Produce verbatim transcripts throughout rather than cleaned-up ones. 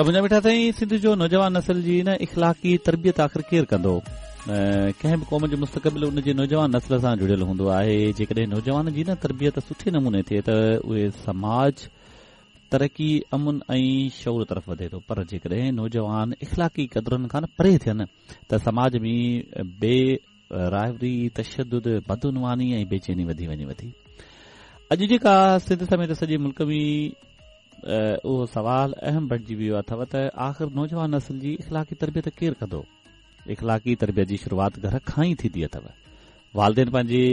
ته منهنجا مٺا سائين، سنڌ جو نوجوان نسل جي نه اخلاقي تربيت آخر ڪير ڪندو؟ ڪنهن به قوم جو مستقبل ان جي نوجوان نسل سان جڙيل هوندو آهي. جيڪڏهن نوجوان جي نه تربيت سٺي نموني ٿئي ته اهي سماج ترقي، امن ۽ شعور طرف وڌي ٿو، پر جيڪڏهن نوجوان اخلاقي قدرن کان پري ٿين ته سماج ۾ بي راهوري، تشدد، بدعنواني ۽ بيچيني وڌي وڃي ٿي. اڄ جيڪا سنڌ سميت سڄي ملڪ ۾ اهو سوال اهم بڻجي ويو اٿو ته آخر نوجوان نسل جي اخلاقي تربيت ڪير ڪندو؟ اخلاقي تربيت جي شروعات گهر کان ئي ٿيندي اٿو. والدين پنهنجي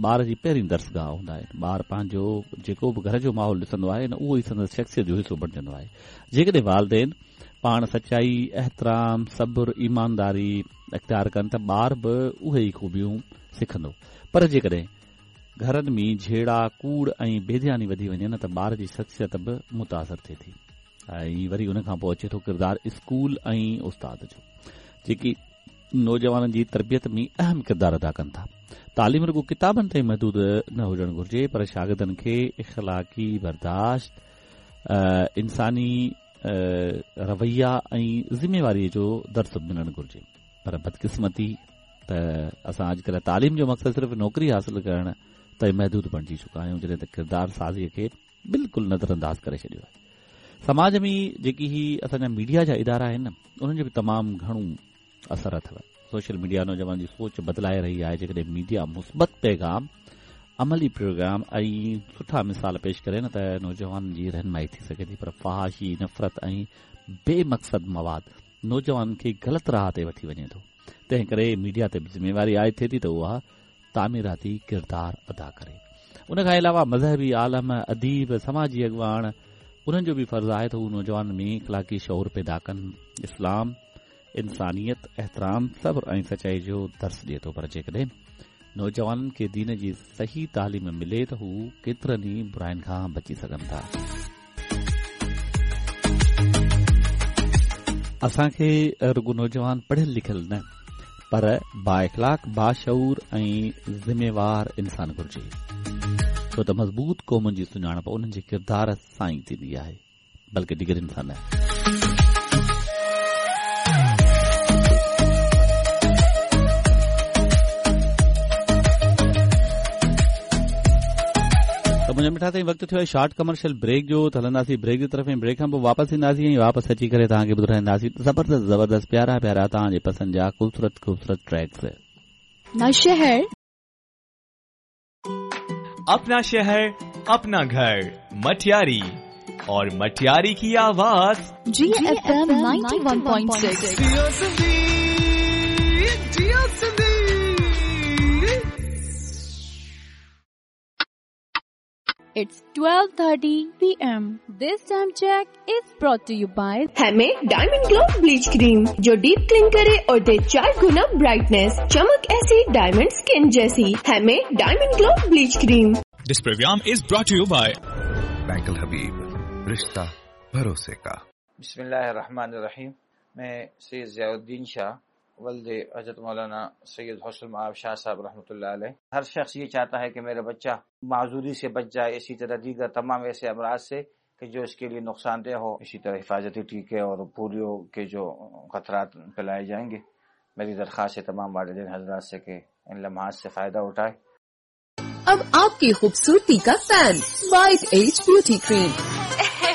ٻار جي پهرين درسگاهه هوندا آهن. ٻار پنهنجو جيڪو به گهر جو ماحول ڏسندو آهي نه اهو ئي سندس شخصيت جو حصو بڻجندو آهي. جيڪڏهن والدين پاڻ سچائي، احترام، صبر، ايمانداري اختيار ڪن ته ٻار به اهي ئي خوبيون سکندو. پر جيڪڏهن گهرن ۾ جهيڙا، ڪوڙ ۽ بيڌياني وڌي وڃي نه ته ٻار جي شخصيت به متاثر ٿئي ٿي. ۽ وري ان کان پوءِ اچي ٿو ڪردار اسڪول ۽ استاد جو، جيڪي نوجوانن جي تربيت ۾ اهم ڪردار ادا ڪن ٿا. تعليم رڳو ڪتابن تائين محدود نه هجڻ گهرجي، پر شاگردن کي اخلاقي برداشت، انساني رويا ۽ ذميواريءَ جو درس ملڻ گهرجي. پر بدقسمتي ته اسان اڄڪلهه تعليم جو مقصد صرف نوڪري حاصل ڪرڻ تائين محدود بڻجي چڪا آهيون، جڏهن ته ڪردار سازيءَ کي بلڪل نظر انداز ڪري ڇڏيو آهي. سماج ۾ جيڪي هي اسان جا ميڊيا جا ادارا آهن انهن جو به تمام گهڻو اثر اٿو. سوشل ميڊيا نوجوان جي سوچ بدلائي رهي آهي. جيڪڏهن ميڊيا مثبت پيغام، عملي پروگرام ۽ سٺا مثال پيش ڪري نه ته نوجوانن جي رهنمائي ٿي سگهي ٿي. پر فحاشي، نفرت ۽ بي مقصد مواد نوجوانن کي غلط راهه تي وٺي وڃي ٿو. تنهن ڪري ميڊيا تي به ذميواري عائد ٿئي ٿي ته اها تعميراتي ڪردار ادا ڪري. ان کان علاوه مذهبي عالم، اديب، سماجي اڳواڻ انهن جو به فرض آهي ته هو نوجوانن ۾ اخلاقي شعور پيدا ڪن. اسلام انسانيت، احترام، صبر ۽ سچائي جو درس ڏئي ٿو، پر جيڪڏهن نوجوانن کي دين جي صحيح تعليم ملي ته هو ڪيترن ئي براين کان بچي سگهن ٿا. اسان کي رڳو نوجوان پڙهيل لکيل نه پر بااخلاق، باشعور ۽ ذميوار انسان گهرجي، ڇو ته مضبوط قومن جي سڃاڻپ انهن جي ڪردار سان ئي ٿيندي آهي، بلڪه ڊگرين سان نه. ته منهنجا مٺا سائين، وقت ٿيو آهي شارٽ ڪمرشل بريڪ جو، ته هلنداسين بريڪ جي طرف ۽ بريڪ کان پوءِ واپس اينداسين ۽ واپس اچي ڪري توهان کي ٻڌائينداسين زبردست زبردست پيارا پيارا توهان جي پسند جا خوبصورت خوبصورت ٽريڪس. ना शहर अपना शहर, अपना घर, मटियारी और मटियारी की आवाज G F M ninety one point six. It's twelve thirty P M. This time check is brought to you by हमें डायमंड ग्लो ब्लीच क्रीम, जो डीप क्लीन करे और दे चार गुना ब्राइटनेस, चमक ऐसी डायमंड स्किन जैसी। हमें diamond glow bleach cream. This program is brought to you by bank Al Habib, रिश्ता भरोसे का। बिस्मिल्लाहिर्रहमानिर्रहीम। मैं सैयद ज़ियाउद्दीन शाह वल्द हज़रत मौलाना सैयद हुस्न मआब शाह साहब रहमतुल्लाह अलैह। हर शख्स ये चाहता है कि मेरा बच्चा माजूरी से बच जाए, इसी तरह दीगर तमाम ऐसे अमराज से कि जो इसके लिए नुकसानदेह हो। इसी तरह हिफाजती टीके और पोलियो के जो खतरात फैलाए जाएंगे। मेरी दरख्वास्त है तमाम वालिदैन हजरात से कि इन लम्हात से फ़ायदा उठाए। अब आपकी खूबसूरती का fan white age beauty cream.